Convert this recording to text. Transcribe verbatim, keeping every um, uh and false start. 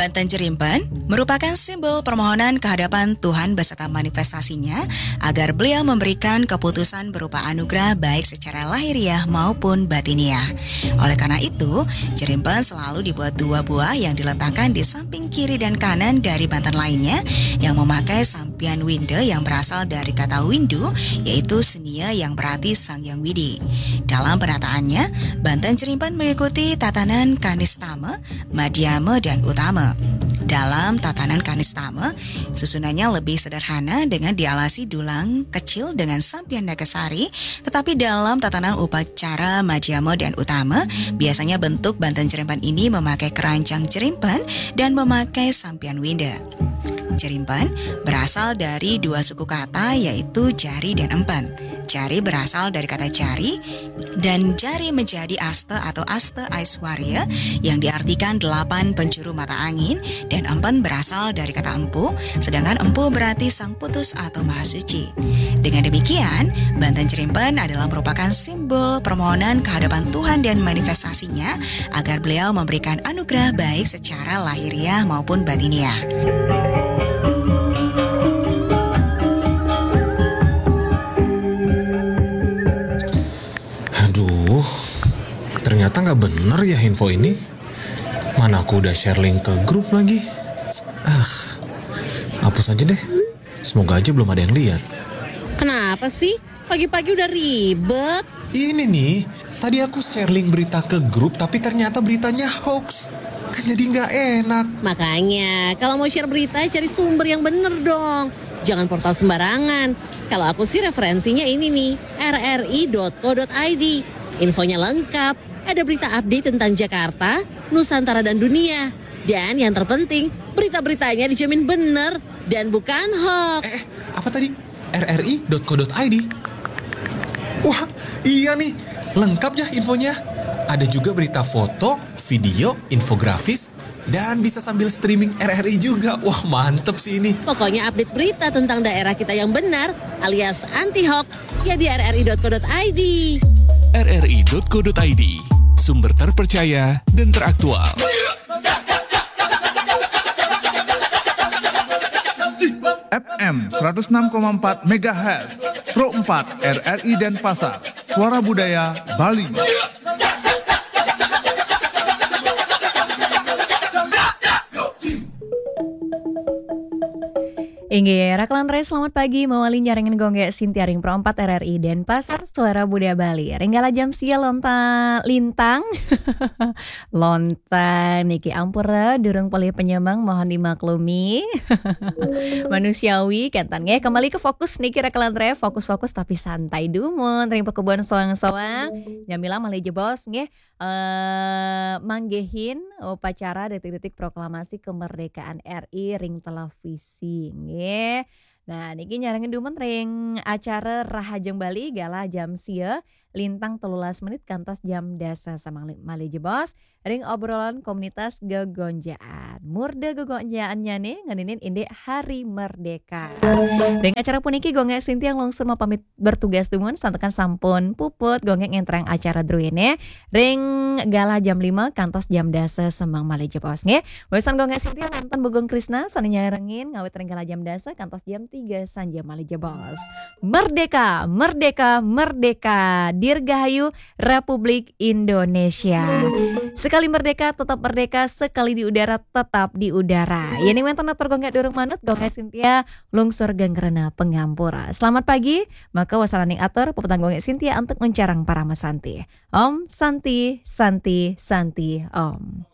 Banten Jerimpen merupakan simbol permohonan ke hadapan Tuhan beserta manifestasinya agar beliau memberikan keputusan berupa anugerah baik secara lahiriah maupun batiniah. Oleh karena itu, Jerimpen selalu dibuat dua buah yang diletakkan di samping kiri dan kanan dari banten lainnya yang memakai sampian winde yang berasal dari kata windu, yaitu senia yang berarti Sang Yang Widi. Dalam penataannya, banten Jerimpen mengikuti tatanan kanistama, madhyama, dan utama. Dalam tatanan kanistama, susunannya lebih sederhana dengan dialasi dulang kecil dengan sampian nagasari, tetapi dalam tatanan upacara madhyama dan utama, biasanya bentuk banten Jerimpen ini memakai keranjang Jerimpen dan memakai sampian winda. Jerimpen berasal dari dua suku kata, yaitu jari dan empen. Jari berasal dari kata jari, dan jari menjadi asta atau asta Aiswarya yang diartikan delapan penjuru mata angin, dan empen berasal dari kata empu, sedangkan empu berarti sang putus atau maha suci. Dengan demikian, banten Jerimpen adalah merupakan simbol permohonan ke hadapan Tuhan dan manifestasinya agar beliau memberikan anugerah baik secara lahiriah maupun batiniah. Aduh, ternyata nggak bener ya info ini. Mana aku udah share link ke grup lagi. Ah, hapus aja deh. Semoga aja belum ada yang lihat. Kenapa sih? Pagi-pagi udah ribet. Ini nih, tadi aku share link berita ke grup tapi ternyata beritanya hoax. Kan jadi nggak enak. Makanya, kalau mau share berita, cari sumber yang bener dong. Jangan portal sembarangan. Kalau aku sih referensinya ini nih, rri.co.id. Infonya lengkap, ada berita update tentang Jakarta, Nusantara dan dunia. Dan yang terpenting, berita-beritanya dijamin bener dan bukan hoax. Eh, apa tadi? rri.co.id. Wah, iya nih, lengkap ya infonya. Ada juga berita foto, video, infografis, dan bisa sambil streaming R R I juga. Wah, mantep sih ini. Pokoknya update berita tentang daerah kita yang benar alias anti hoax ya di rri.co.id. rri.co.id, sumber terpercaya dan teraktual. F M seratus enam koma empat megahertz, Pro empat R R I Denpasar, Suara Budaya Bali. Inggih, Raklan Rai, selamat pagi. Mawali nyarengin Gongge Sintia ring Pro empat R R I Denpasar, Suara Budaya Bali. Ring galah jam sia lonta lintang. Lonta niki ampura, durung pelih penyemang, mohon dimaklumi. Manusiawi, kenten nggih. Kembali ke fokus niki, Raklan Rai, fokus-fokus tapi santai dumun. Ring pekubuan soang-soang. Nyamilang malih jebos nggih. Eh, manggihin upacara detik-detik proklamasi kemerdekaan R I ring televisi nggih. Nah, niki nyarengin dumun ring acara Rahajeng Bali galah jam sia lintang telulas menit kantos jam dasa semang malih jebos ring obrolan komunitas gegonjaan. Murda gegonjaannya nih ngeninin indik Hari Merdeka. Ring acara puniki Gongge Sintia lungsur mapamit bertugas dumun, santukan sampun puput Gongge ngentrang acara druene ring galah jam lima kantos jam dasa semang malih jebos nggih. Wesan Gongge Sintia wonten Bagong Krisna sane nyarengin ngawit ring galah jam dasa kantos jam tiga sanja malih jebos. Merdeka, merdeka, merdeka. Dirgahayu Republik Indonesia. Sekali merdeka, tetap merdeka. Sekali di udara, tetap di udara. Yen wenten atur Gongge durung manut, Gongge Sintia lungsur geng rena pangampura. Selamat pagi, maka wasananing atur pepetang Gongge Sintia antuk nguncarang parama santi. Om Santi, Santi, Santi, Om.